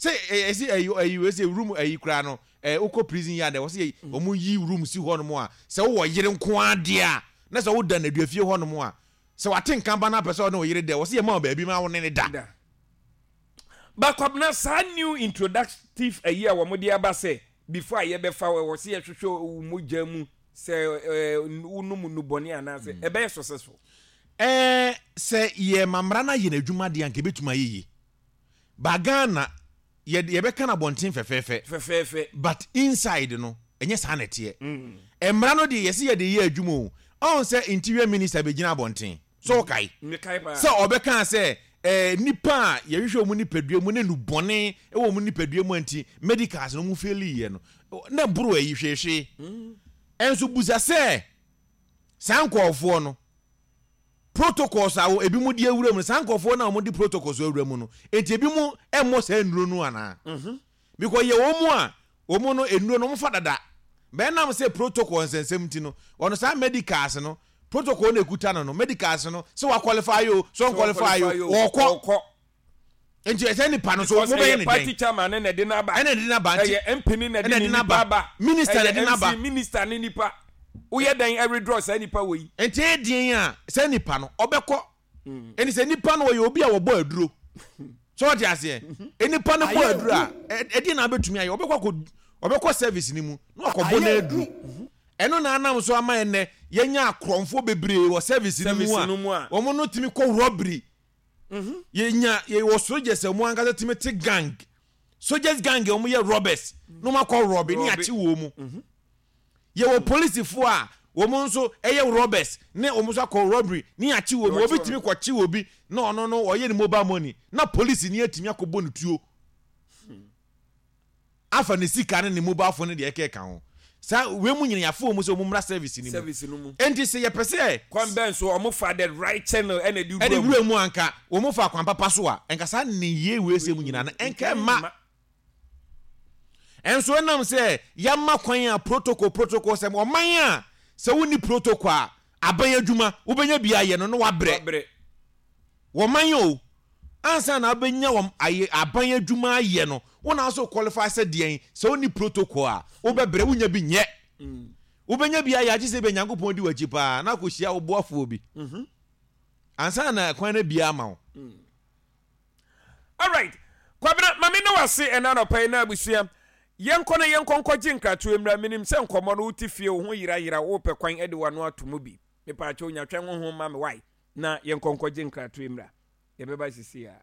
Sɛ ɛsi ɛyi ɛyi wei sɛ room ɛyi koraa no ɛɛ wokɔ prison yard ɛwɔ sɛ wɔn yi room si hɔ nom a sɛ wowɔ yere nko ara deɛ a na sɛ woda nnaduafie hɔ nom a sɛ wate nka ba no apɛ sɛ ɔne wo yere da ɛwɔ sɛ yɛma wo baabi ma wo ne ne da. Da. Ba Kwabena saa new introductive ayi a wɔn de aba sɛ before a yɛbɛfa wo ɛwɔ sɛ yɛhwehwɛ wo mogya mu sɛ ɛɛ wonom nnubɔne anaasɛ ɛbɛyɛ successful. Ɛɛ sɛ yɛma mmara no ayɛ n'adwuma deɛ anka ɛbɛtumi ayɛ yie. Ba Ghana yɛ yɛbɛka no abɔnten fɛfɛɛfɛ. Fɛfɛɛfɛ. But inside no ɛnyɛ saa na ɛteɛ. Mmara no deɛ yɛse yɛde yɛ adwuma o. Ɔhu sɛ interior minister bɛgyina abɔnten. So wokae? Mekae paa. Sɛ ɔbɛkaa sɛ eh, nnipa a yɛhwehwɛ wɔn nipadua mu ne nnubɔne wɔ wɔn nipadua mu a nti medicals no wɔn failiiɛ no, na ɛboro ayi hweehwee. Ɛnso busa sɛ saa nkurɔfoɔ no protocols a ebinom de awura mu no, saa nkurɔfoɔ no a wɔde protocols awura mu no, nti ebinom mmɔ saa nnuro no anaa? Because yɛ wɔn mu a wɔn no nnuro no wɔfa dada, bɛn nam sɛ protocol nsɛnsɛm nti no, wɔn saa medicals no protocol na ekuta no no medicals no sɛ wa qualify o sɛ ɔn qualify o ɔkɔ. Nti ɛsɛ nipa no so mo bɛyɛ ne dɛn? Party chairman ne na ɛde n'aba. Ɛna ɛde n'aba nti. Ɛyɛ MP ne na ɛde ne nipa aba. Minister na ɛde n'aba. Ɛyɛ MC minister ne nipa. Woyɛ dɛn ɛwithdraw saa nipa wɔ yi? Nti ɛyɛ deɛn a saa nipa no ɔbɛkɔ. Ɛni sɛ nipa no ɔyɛ obi a wɔbɔ aduro. So ɔte aseɛ? Nipa no bɔ aduro a ɛdeɛn na abɛtumi ayɛ? Ɔbɛkɔ akɔ ɔbɛkɔ service no mu na wakɔbɔ n'aduro. Ɛno na anam so ama ɛnɛ yɛnya akorɔmfoɔ bebree wɔ service no mu a wɔn no tumi kɔ robbery. Yɛnya yɛwɔ soldiers a wɔn ankasa tumi te gang soldiers gang a wɔn yɛ robbers na wɔn akɔ rɔbe ne akye wɔn mu. Mhm. Yɛwɔ polisifoɔ a wɔn nso yɛ robbers ne wɔn nso akɔ robbery ne akye wɔn mu. Obi tumi kɔkye obi na ɔno no ɔyɛ ne mobile money na polisi ni atumi akɔbɔ ne tuo. Hmm. Afa ne sika ne ne mobile phone ne deɛ ɛkeka ho. Saa wei mu nyina yɛafa wɔn sɛ wɔn mmra service no mu. Service no mu. Enti sɛ yɛpɛ sɛ. Kwan bɛn so wɔn fa the right channel ɛna ɛde wura mu. Ɛde wura mu a nka wɔn fa kwan papa so a nka saa nneyɛɛ wei sɛ mu nyinaa no nka ɛmma. Ɛnso ɛnam sɛ yɛama kwan a protocol protocol sɛ ɔman a sɛ wonni protocol a aban adwuma wobɛnya bi ayɛ no na wabrɛ. Wɔman o, ansa na wobɛnya wɔn ayɛ aban adwuma ayɛ no, wo na so qualify sɛ deɛn, sɛ wonni protocol a, wobɛbrɛ, wonya bi nyɛ. Wobɛnya bi ayɛ agye sɛ ebia Nyankopɔn di w'akyi paa na akɔhyia wo boafoɔ bi. Ansa na kwan no abue ama wo. Alright, Kwabena, ma me ne wo ase ɛna anɔpa yi na abusua. Yɛnkɔ na yɛnkɔ nkɔgye nkratoɔ mmra. Menim sɛ nkɔmmɔ no wote fie, wo ho yerayera, wopɛ kwan de w'ano ato mu bi. Mepaakyɛw nya twɛn honhom ma me wae. Na yɛnkɔ nkɔgye nkratoe mmra. Yɛbɛba sisi a.